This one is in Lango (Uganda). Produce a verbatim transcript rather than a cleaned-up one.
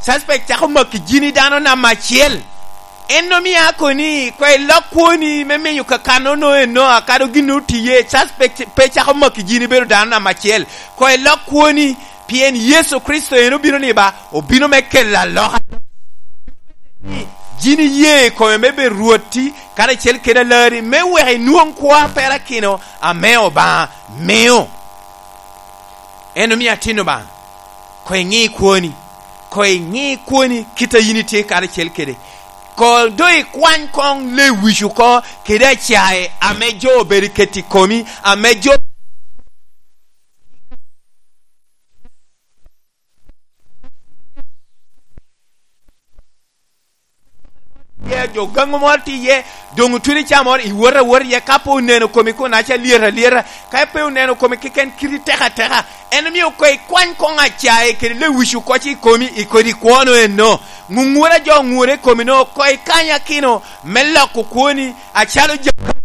Suspect cako maki jini dano namba acel. En omio ako ni, koŋ ilok kwoni me miyo kakano no eno, akado gin otiye, suspect pe cako maki jini bedo dano namba acel. Koŋ ilok kwoni, pien Yecu Kricito en obino ni ba, obino me kelo aloka. Jini iye i kome me bedo Rwotti, karacel kede Alarri, me wek inwoŋ kwo a perakino ame Obaŋa mio. En omio atin Obaŋa, koŋ iŋi kwoni, koŋ iŋi kwoni kit a yin itye karacel kede. Koŋ doŋ ikwany koŋ lewic oko kede acae ame jo obedo i keti komi, ame jo iye, jo gaŋo moro tye iye, doŋ otwero icaa moro, iwot awot iye, ka pe oneno komi kun aca lyet alyeta, ka pe oneno komi keken kiti tek ateka. En omio koŋ ikwany koŋ acae kede lewic oko i komi, i kodi kwono eno. Ŋuŋura jo oŋure i komi no, koŋ ikany akino me loko kwoni, acalo Jakobo